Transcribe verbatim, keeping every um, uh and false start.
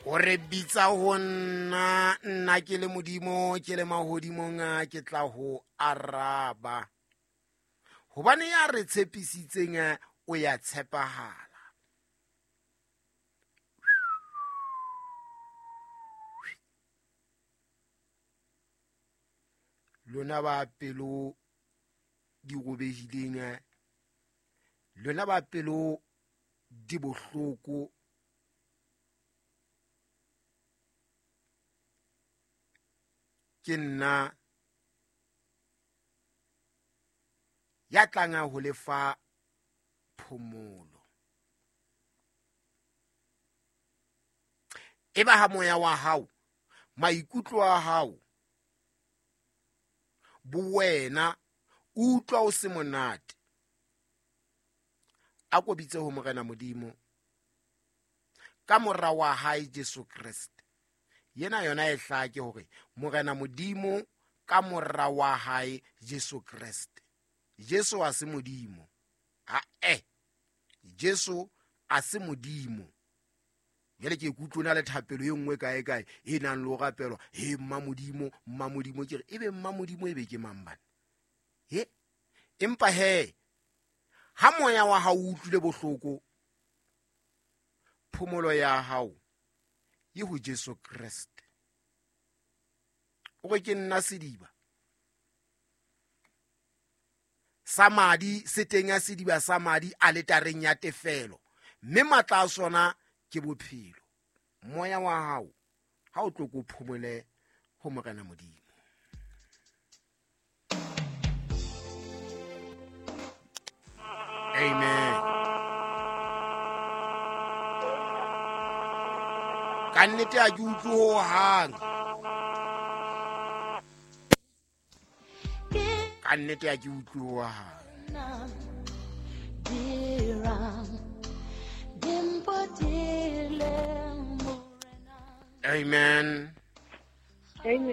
O re bitsa ho nna, nna ke le Modimo, ke le mahodimong, a ke tla ho araba. Hobane ya re tshepisitseng o ya tshepahala. Lona ba pelo di robehileng, lona ba pelo di bohloko, ke nna ya tlang ho lefa phomolo. Eba ha moya wa hao, maikutlo a hao, bowena utlwa o se monate, a ko bitse ho Morena Modimo ka mora wa hae Jesu Kreste. Yena yona e hlake hore Morena Modimo ka mora wa hae Jesu Kreste. Jesu a se Modimo. Ha eh. Jesu a se Modimo. Jwale ke ikutlwa le thapelo e nngwe kae kae e nang le ho rapelwa, he mma Modimo, mma Modimo, ke re ebe mma Modimo ebe ke mang bana? He empa he ha moya wa hao o utlwile bohloko, phomolo ya hao e ho Jesu Kreste. O re ke nna sediba sa madi, se teng ya sediba sa madi aletareng ya tefelo, mme matla a sona ke bophelo. Moya wa hao ha o tlo ko phomole ho Morena Modimo. Amen. Ka nnete ha ke utlwe ho hang. Ka nnete ha ke utlwe ho hang. Amen. Amen.